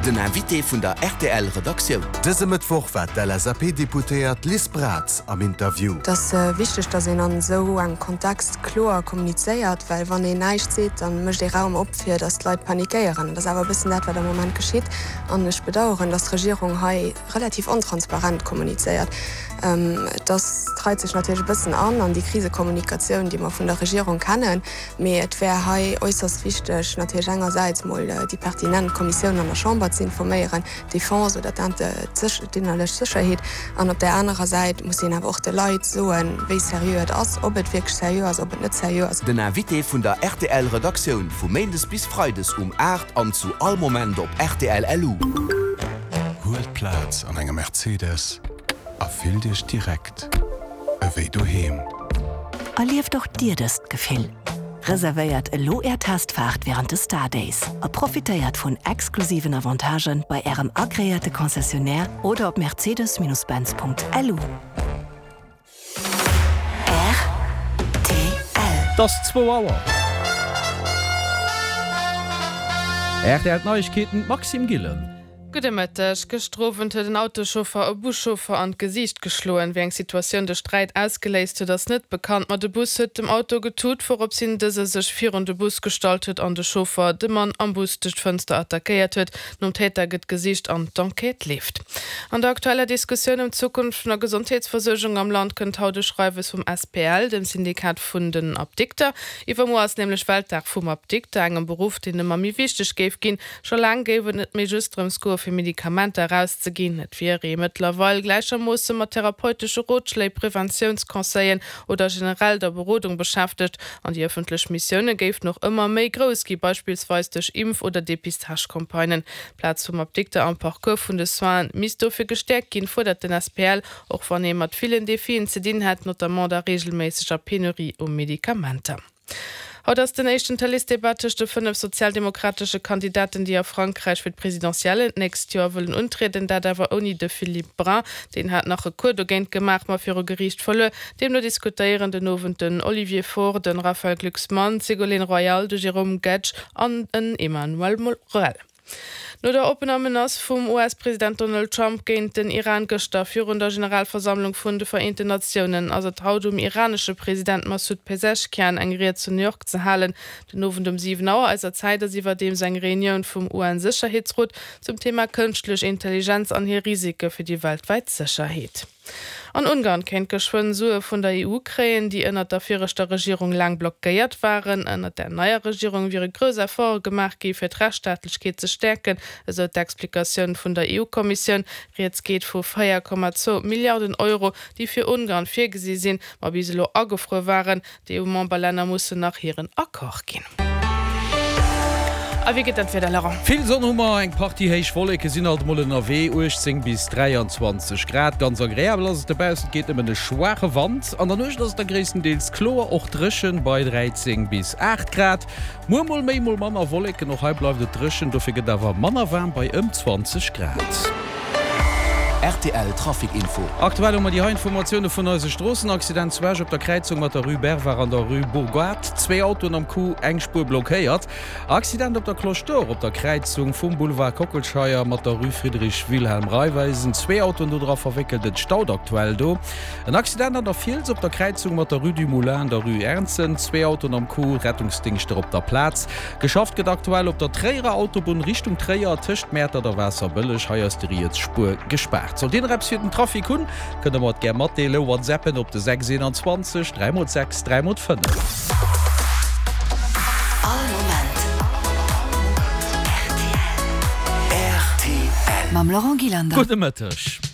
Den Invité vun der rtl Redaktioun. Dëse Mëttwoch war d'LSAP-Deputéiert Liz Braz am Interview. Et ass wichteg, datt een an esou engem Kontext kloer kommunizéiert, well wann een näischt seet, da mécht ee Raum op, fir datt d'Leit panikéieren. Dat ass awer e bëssen dat, wat am Moment geschitt. An ech bedaueren, datt d'Regierung hei relativ ontransparent kommunizéiert. Et ass, et reit sech natierlech e bëssen an an déi Krisekommunikatioun, déi mer vun der Regierung kennen. Mee et wär hei äusserst wichteg, natierlech engersäits mol déi pertinent Kommissioun an der Chamber ze informéieren, d'Defense oder d'innerlech Sécherheet, an op där anerer Säit muss een awer och de Leit soen, wéi seriö et ass, ob et wierklech seriö ass, ob et net seriö ass. Den Invité vun der rtl Redaktioun vu Méindes bis Freides um 8 an zu all Moment op rtl LU. Huelt Plaz an engem Mercedes a fillt Iech direkt ewéi doheem. Erlieft och Dir dëst Gefill! Reservéiert elo Är Testfaart wärend de Star Days a profitéiert vun exklusiven Avantagen bei Ärem agreéierte Concessionnaire oder op mercedes-benz.lu. Rtl. Et ass zwou Auer. Rtl D'Neiegkeeten, d'Maxime Gillen. Gudde Mëtteg. Gëschter Owend huet en Autoschauffer e Buschauffer an d'Gesiicht geschloen. Wéi eng Situatioun de Sträit ausgeléist huet, ass net bekannt, ma de Bus huet dem Auto getut, wourops hin dëse sech virun de Bus gestallt huet an de Chauffer de Mann am Bus duerch d'Fënster attackéiert huet. Nom Täter gëtt gesicht an d'Enquête leeft. An der aktueller Diskussioun ëm d'Zukunft vun der Gesondheetsversuergung am Land kënnt haut e Schreiwes vum SPL, dem Syndikat vun den Apdikter. Iwwermuer ass nämlech Weltdag vum Apdikter, engem Beruff, deen ëmmer méi wichteg géif ginn. Scho laang géif et net méi just drëms goe fir Medikamenter erauszeginn. Et wier ee mëttlerweil gläichermoosse mat therapeutesche Rotschléi, Preventiounsconseillen oder generell der Berodung beschäftegt. An déi ëffentlech Missioune géifen och ëmmer méi grouss gi, beispillsweis duerch Impf oder Depistagecampagnen. D'Plaz vum Apdikter am Parcours vun de Soinen misst dofir gestäerkt ginn, fuerdert den SPL, och wann ee mat villen Defien ze dinn hätt, notamment der reegelméisseger Penurie u Medikamenter. Haut ass den éischten Tëleesdebat tëscht de 5 sozialdemokratesche Kandidaten, déi a Frankräich fir d'Presidentiellen d'nächst Joer wëllen untrieden. Dat awer ouni de Philippe Brun. Deen hat nach Recours dogéint gemaach, ma viru Geriicht verluer. Deemno diskutéieren den Owend den Olivier Faure, de Raphaël Glucksmann, d'Ségolène Royal, de Jérôme Guedj an en Emmanuel Morel. No der oppener Menace vum US-President Donald Trump géint den Iran gëschter virun der Generalversammlung vun de Vereenten Natiounen, ass et haut um iranesche President Massoud Pezeshkian eng Ried zu New York ze halen. Den Owend um 7 Auer eiser Zäit ass iwwerdeems eng Reunioun vum UN-Sécherheetsrot zum Thema kënschtlech Intelligenz an hir Risike fir déi weltwäit Sécherheet. An Ungarn kéint geschwënn Sue vun der EU kréien, déi ënnert der viregter Regierung laang blockéiert waren. Ënnert der neier Regierung wiere grouss Efforte gemaach gi fir d'Rechtsstaatlechkeet ze stäerken, esou d'Explikatioun vun der EU-Kommissioun. Rieds geet vu 4,2 Milliarden Euro, déi fir Ungarn virgesi sinn, ma bis elo agefruer waren. D'EU-Memberlänner mussen nach hiren Accord ginn. A wéi geet dat Wieder, Laurent? Vill Sonn hu mer, eng Partie héich Wolleke sinn alt emol ënnerwee, 18 bis 23 Grad. Ganz agreabel ass et dobaussen, et geet nëmmen e schwaache Wand. An der Nuecht ass et da gréisstendeels kloer, och dréchen bei 13 bis 8 Grad. Muer mol méi, mol manner Wolleken, och hei bleift et dréchen, dofir gëtt awer manner waarm bei ëm 20 Grad. Rtl Trafic Info. Aktuell hu mer déi hei Informatioune vun eise Stroossen, Accident zu Esch op der Kräizung mat der Rue Bervard an der Rue Bourgoat, zwee Autoen am Coup, eng Spuer blockéiert. Accident op der Cloche d'Or op der Kräizung vum Boulevard Kockelscheier mat der Rue Friedrich Wilhelm Raiffeisen, zwee Autoen do dra verwéckelt, et staut aktuell do. En Accident an der Fiels op der Kräizung mat der Rue du Moulin an der Rue Ernzen, zwee Autoen am Coup, Rettungsdingschter op der Plaz. Geschafft gëtt aktuell op der Tréierer Autobunn Richtung Tréier tëscht Mäertert a Waasserbëlleg. Hei ass déi riets Spuer gespaart. Sollt Dir nach eppes fir den Trafic hunn, kënnt der mer et gär matdeelen. Whatsappen op de 6 21 3 x 6 3 x 5. All Moment rtl. Mam Laurent Gillander. Gudde Mëtteg.